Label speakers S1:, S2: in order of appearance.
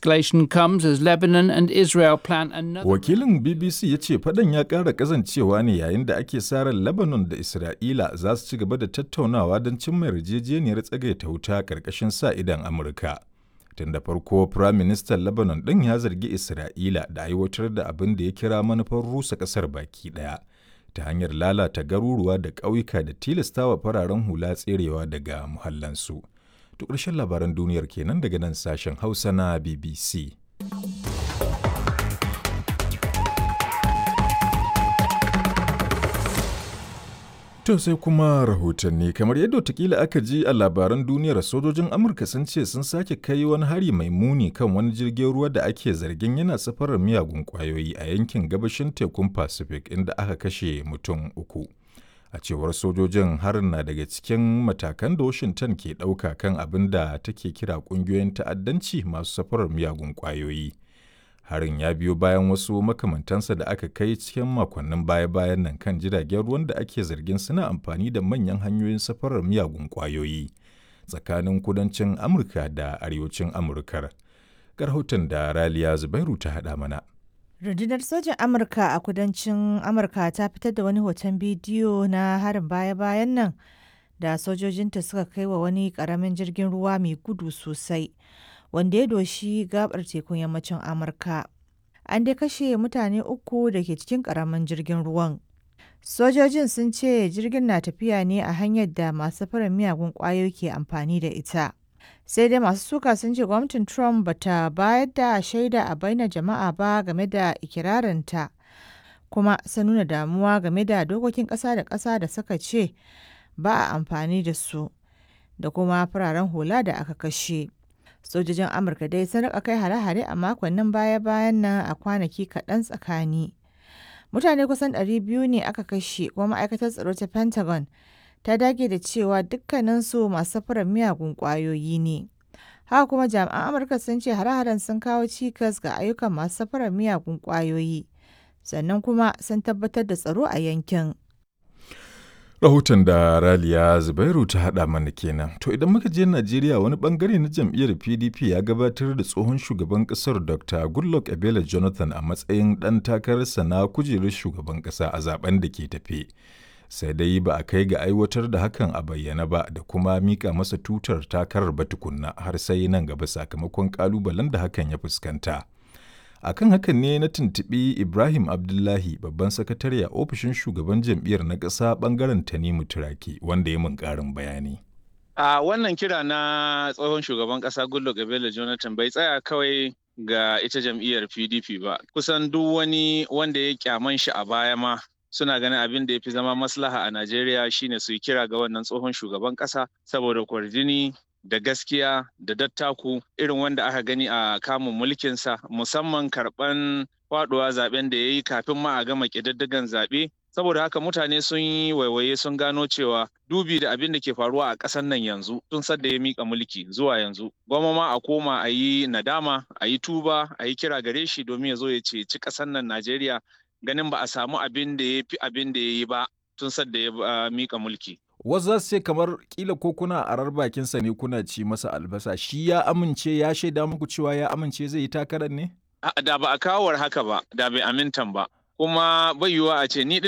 S1: escalation comes as Lebanon and Israel plan another.
S2: Wakilin BBC ya ce fadan ya ƙara ƙazancewa ne yayin da ake sa ran Lebanon da Isra'ila za su ci gaba da tattaunawa don cimma yarjejeniyar tsagaita wuta ƙarƙashin sa idon Amurka. Tun da farko, Firaministan Lebanon ɗin ya zargi Isra'ila da aiwatar da abin da ya kira manufar rusa ƙasar baki ɗaya ta hanyar lalata garuruwa da ƙauyuka da tilastawa fararen hula tserewa daga muhallansu. To ƙarshen labaran duniyar kenan daga nan sashen Hausa na BBC. To sai kuma rahotanni kamar yadda watakila aka ji a labaran duniyar, sojojin Amurka sun ce sun sake kai wani hari mai muni kan wani jirgin ruwa da ake zargin yana safarar miyagun kwayoyi a yankin gabashin tekun Pacific, inda aka kashe mutum 3. A cewar sojojin, harin na daga cikin matakan da Washington ke ɗauka kan abin da take kira ƙungiyoyin ta'addanci masu safarar miyagun kwayoyi. Harin ya biyo bayan wasu makamantansa da aka kai cikin makonnin baya-bayan nan kan jiragen ruwan da ake zargin suna amfani da manyan hanyoyin safarar miyagun kwayoyi tsakanin kudancin Amurka da arewacin Amurkar. Rahoton da Raliya Zubairu ta haɗa mana.
S3: Rundunar sojan Amurka a kudancin Amurka ta fitar da wani hoton bidiyo na harin baya-bayan nan da sojojinta suka kai wa wani karamin jirgin ruwa mai gudu sosai wanda ya doshi gabar tekun yammacin Amurka. An dai kashe mutane 3 da ke cikin karamin jirgin ruwan. Sojojin sun ce jirgin na tafiya ne a hanyar da masu safarar miyagun kwayoyi ke amfani da ita. Sai dai masu suka sun ce gwamnatin Trump bata bayar da shaida a bainar jama'a ba game da ikirarinta, kuma sun nuna damuwa game da dokokin ƙasa da ƙasa da suka ce ba a amfani da su da kuma fararen hula da aka kashe. Sojojin Amurka dai sun rika kai hare-hare a makonnin baya-bayan nan a kwanaki kaɗan tsakani. Mutane kusan 200 ne aka kashe, kuma ma'aikatar tsaro ta Pentagon ta dage da cewa dukkaninsu masu safarar miyagun ƙwayoyi ne. Haka kuma jami'an Amurka sun ce hare-haren sun kawo cikas ga ayyukan masu safarar miyagun ƙwayoyi, sannan kuma sun tabbatar da tsaro a yankin.
S2: Rahoton da Raliya Zubairu ta haɗa mana kenan. To idan muka je Najeriya, wani bangare na jam'iyyar PDP ya gabatar da tsohon shugaban ƙasar Dr. Goodluck Ebele Jonathan a matsayin ɗan takararsa na kujerar shugaban ƙasa a zaben da ke tafe. Sai dai ba a kai ga aiwatar da hakan a bayyana ba da kuma mika masa tutar takarar ba tukunna har sai nan gaba, sakamakon ƙalubalen da hakan ya fuskanta. Akan hakan ne na tuntuɓi Ibrahim Abdullahi, babban sakatare a ofishin shugaban jam'iyyar na ƙasa ɓangaren Tanimu Turaki, wanda ya mun ƙarin bayani.
S4: A wannan kira na tsohon shugaban ƙasa Goodluk Ebele Jonathan bai tsaya kawai ga ita jam'iyyar PDP ba. Kusan duk wani wanda ya kyaman shi a baya ma suna ganin abin da ya fi zama maslaha a Najeriya shine su yi kira ga wannan tsohon shugaban ƙasa, saboda kwarjini da gaskiya da dattaku irin wanda aka gani a kamun mulkinsa, musamman karban faduwa zaben da ya yi kafin ma a gama ƙididdigan zaɓe. Saboda haka mutane sun yi waiwaye sun gano cewa dubi da abin da ke faruwa a ƙasar nan yanzu tun sadda ya mika mulki zuwa yanzu, gwamma ma a koma a yi nadama, a yi tuba, a yi kira gare shi domin ya zo ya ceci ƙasar nan Najeriya, ganin ba a samu abin da ya fi abin da ya yi ba tun sadda ya mika mulki.
S2: Wasu za su ce kamar kila ko kuna arar bakinsa ne kuna ci masa albasa. Shi ya amince, ya shaida muku cewa ya amince zai yi takarar ne?
S4: Da ba a kawar haka ba, da bai amintan ba. Kuma bai yiwuwa a ce ni